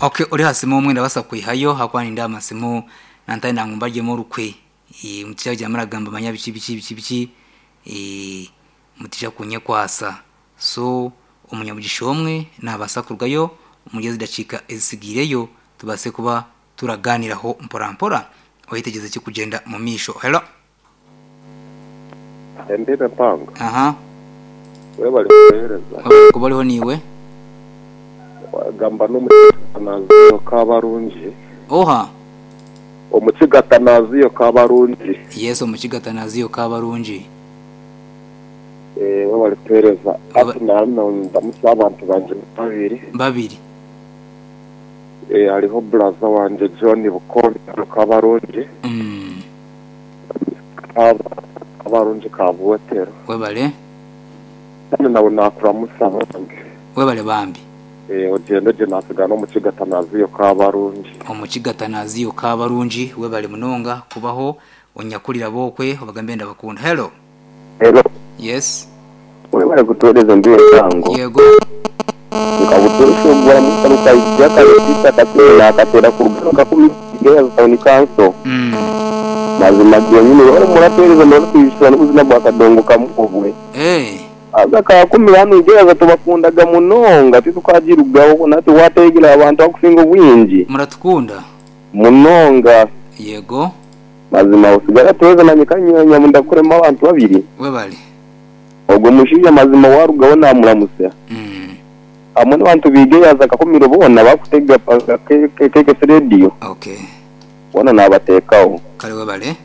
Okay, ori aha simu omwe ndabaasa kukwihayo ahakuba nindeeba amasimu nantayenda ngu mbaryemu orukwe. Mutaija kugira muragamba manya biki biki biki biki, mutaija kunyekwasa. So omunyamugisha omwe naabaasa kurugayo omuri ezi dakiika ezitsigaireyo tubaase kuba turagaaniiraho mporampora oyetegyereze ekirikugyenda omu maisho. Hello. Embibo empango. Aha. Webale kutuhereza. Webale kuba oriho naiwe. Wagamba n'omukiga Kabarungi. Oha? Omukiga Tanaziyo Kabarungi. Yes omukiga Tanaziyo Kabarungi. Eh, webale kutuhereza. Hati ndandamutsya abantu bangye babiri. Babiri. Eh, hariho buraza wangye John Bukombe Kabarungi. Kabarungi Kabwotero. Webale. Kandi nawe nakuramutsya bambi. Webale bambi. Eh, ogyende gye natsigara n'omukiga Tanaziyo Kabarungi. Omukiga Tanaziyo Kabarungi webale munonga kubaho onyakurire ab'okwe obagambe ndabakunda. Hello. Hello. Yes. Webale kutuhereza embibo empango. Yego. Nka butoosha ogwa Musa Rukaija Kareziita Katebe naakateera kuruga omu Kakumi Girls Town Council. Mazima genyini webale muratuhereza muratuijusya n'obuzina bwa Kadongo kamu obwe. Haza Kakumi hanu Girls tubakundaga munonga titukagirugaho nati wateegire abantu abakusinga obwingi. Muratukunda? Munonga. Yego. Mazima osigare atuhereze nanye kanyanya ndakuremu abantu babiri. Webale. Ogwo mushaija mazima warugaho namuramutsya. Hamwe n'abantu biiga eyaza Kakumiro boona bakutega KKS Radio. Okay. Boona nabateekaho. Kare webale.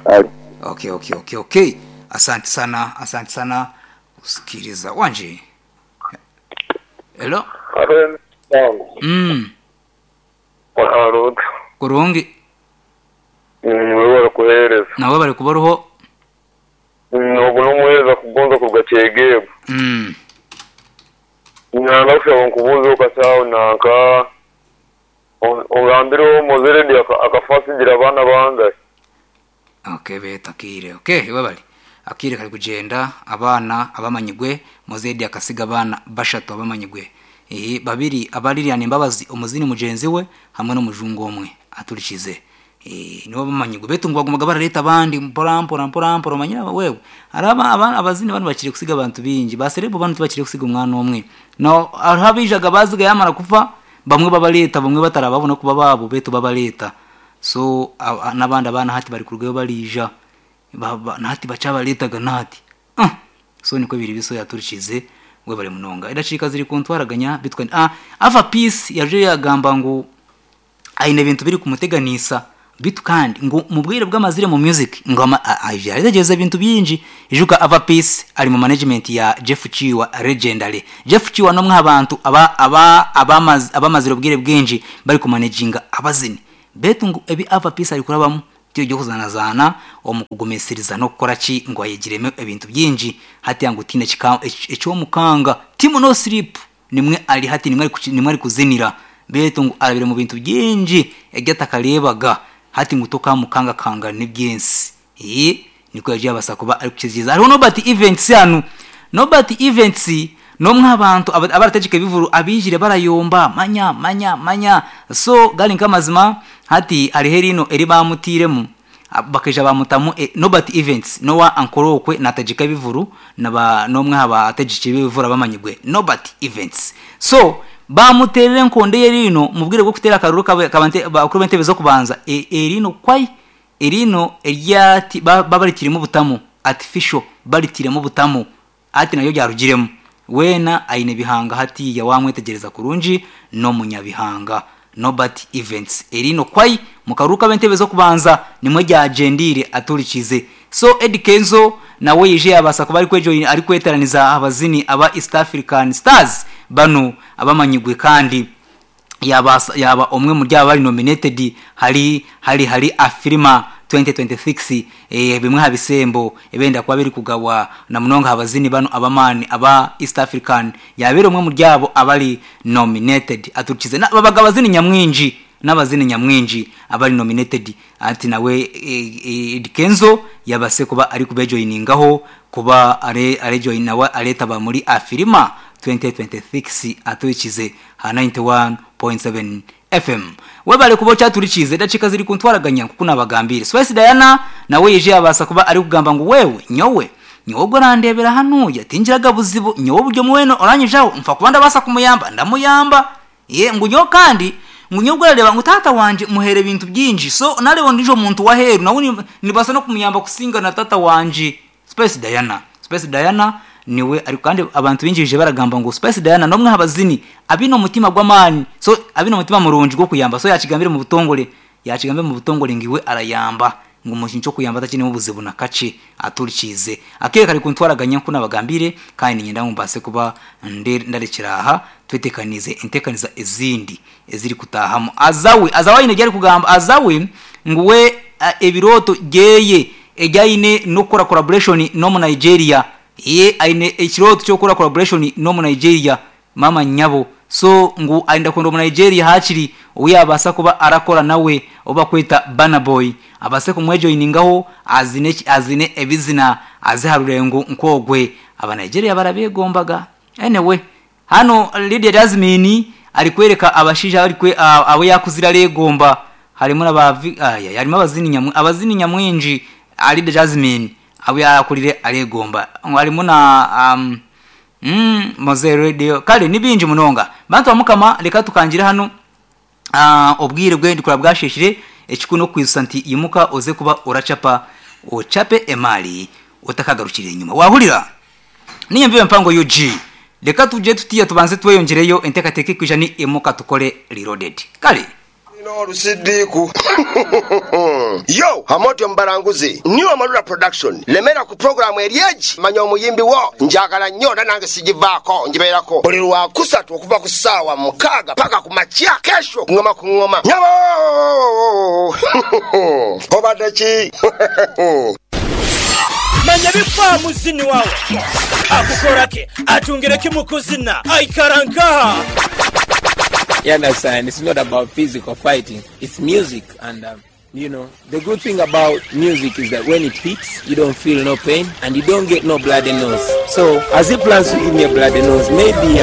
Kare. Okay, okay, okay, okay. Asante sana, asante sana kusikiriza. Wangi. Hello. Haro Empango. Wahara ota? Kurungi. Webale kuheereza. Nawe webale kuba oriho. Ogu n'omuheereza kugonza kuruga Kyegegwa. Nayenda kushaba nkubuuzeho kakye aho nanka ongambire Mowzey Radio akafa atsigire abaana bangahi? Okay beeta akaire okay webale akaire kari kugyenda abaana abamanyigwe Mowzey Radio akasiga abaana bashatu abamanyigwe babiri aba Lilian Mbabazi omuzini mugyenzi we hamwe n'omujungu omwe aturikize. Nibo bamanyirwe beitu ngu bagumaga barareeta abandi mpora mpora mpora mpora omanyire wewe hariho abazini banu bakire kusiga abantu baingi ba serebu banu tibakire kusiga omwana omwe hariho abaijaga baziga yamara kufa bamwe babareeta bamwe batarababona kuba baabo beitu babareeta so n'abandi abaana hati bari kurugayo bariija nahati bakyabareetaga nahati so nikwo biri biso yaturikize webare munonga edakiika ziri kuntwaraganya beitu Ava Peace yaija yagamba ngu Aine ebintu birikumuteganisa beitu kandi ngu omu bwire obu amazire omu music ngu aije yayetegyereza ebintu bingi. Ijuka Ava Peace ari mu management ya Jeff Kiwa Legendary. Jeff Kiwa n'omwe aha bantu abamazire obwire bwingi barikumanejinga abazini beitu ngu ebi Ava Peace arikurabamu ti eby'okuzaanazaana omu kugumisiriza n'okukora ki ngu ayegiremu ebintu bingi hati ngu tihaine ekyomukanga. Team No Sleep Nimwe ari hati nimwe arikuzinira, beitu ngu arabire mu bintu bingi ebi atakareebaga, hati ngu tokamukangakanga n'eby'ensi. Eeh, nikwo yaija yabaasa kuba arikukiziriza. Hariho Nobert Events hanu. Nobert Events n'omwe aha bantu abarategyeka ebivuru abaijire barayomba, manya, manya, manya. So gari nk'amazima, hati hariho eriino eri baamutairemu. Bakaija baamutamu Nobert Events n'owa Ankole okwe naategyeka ebivuru na n'omwe aha bategyeki b'ebivuru abamanyirwe Nobert Events. So baamuteerera enkondo y'eriino omu bwire bw'okuteera akaruru k'abakuru b'entebe z'okubanza eriino kwai eriino eryati babaritiiremu obutamu, artificial, baritiiremu obutamu Hati naryo ryarugiremu. Weena aine bihanga hatiiya waamwetegyereza kurungi n'omunyabihanga. Nobert Events eriino kwai mu karuuru k'ab'entebe z'okubanza nimwo ryagyendeire aturikiize. So Eddy Kenzo nawe yaija yaabaasa kuba arikweteeraniza aha bazini aba East African Stars banu abamanyirwe kandi yaabaasa yaaba omwe omuri abo abari nominated hari hari hari Afrima 2026 bimwe aha bisembo ebirenda kuba birikugabwa na munonga aha bazini banu ab'amaani aba East African yaabaire omwe omuri abo abari nominated aturikize babaga abazini nyamwingi n'abazini nyamwingi abari nominated hati nawe Eddy Kenzo yabaase kuba arikubejoyiningaho kuba arejoyina nawe areetaba muri Afrima 2026 aturikize aha 91. 102.7 FM. Webale kuba okyaturikiize edakiika ziri kuntwaraganya nkuku nabagambiire. Spice Diana nawe yaije yabaasa kuba arikugamba ngu wewe nyowe nyowe ogwo orandeebera hanuya tingiraga buzibu nyowe buri omwe weena oranyijaho nfa kuba ndabaasa kumuyamba ndamuyamba. Ye ngu nyowe kandi ngu nyowe ogwo orareeba ngu taata wangye muhaire ebintu bingi so nareeba ondiijo muntu w'aheeru nawe nibaasa n'okumuyamba kusinga na taata wangye. Spice Diana Spice Diana niwe ari kandi abantu baingi baije baragamba ngu Spice Diana n'omwe aha bazini abaine omutima gw'amaani so abaine omutima murungi gw'okuyamba so yaakigambire omu butongore yaakigambire omu butongore ngu iwe arayamba ngu omu kintu ky'okuyamba takiinemu buzibu na kakye aturikiize akaire kari kuntwaraganya nk'oku naabagambiire kandi niinyenda ngu mbaase kuba ndarekyera aha tweteekaniize enteekaniza ezindi ezirikutaahamu. Azawi Azawi aine ebi arikugamba Azawi ngu we ebirooto byeye ebi aine n'okukora collaboration n'omu Nigeria. Ye aine ekirooto ky'okukora collaboration n'omu Nigeria maama nyabo. So ngu ayenda kwenda omu Nigeria haakiri ou yaabaasa kuba arakora nawe ou bakweta Burna Boy abaase kumwejoiningaho azine azine ebizina aze aha rurengo nk'ogwe. Aba Nigeria barabeegombaga. Anyway, hanu Lydia Jazmine arikwereka abashaija abu abu yaakuzire areegomba harimu na ba aya harimu abazini nyamwe abazini nyamwingi Lydia Jazmine abu yaakurire areegomba harimu na um, Mozey Radio kare ni bingi munonga. Bantu ba Mukama reka tukangire hanu obwire bwe ndikura bwasheeshire ekikuru n'okukwijutsya nti imuka oze kuba oracapa ocape emaari otakagarukire enyima. Waahurira? Niinye Mbibo Empango UG. Reka tugye tutiya tubanze tweyongyereyo enteekateeka erikwija ni Imuka Tukore Reloaded. Kare. Nina olusidiku Yo Amooti omubalanguzi New Amarula Production Lemera ku program eri egi Manya omuyimbi wo Njagala nnyo era nange sigivaako Ngibeerako buli lwakusatu okuva ku ssaawa mukaaga paka ku makya Kesho ngoma ku ngoma Nyabo Obadde ki? Manya ebifa muzini wawe akukora ki, atungire ki mu kuzina, aikara nkaha. You understand? It's not about physical fighting, it's music and um, you know, the good thing about music is that when it hits, you don't feel no pain and you don't get no bloody nose. So, as he plans to give me a bloody nose, maybe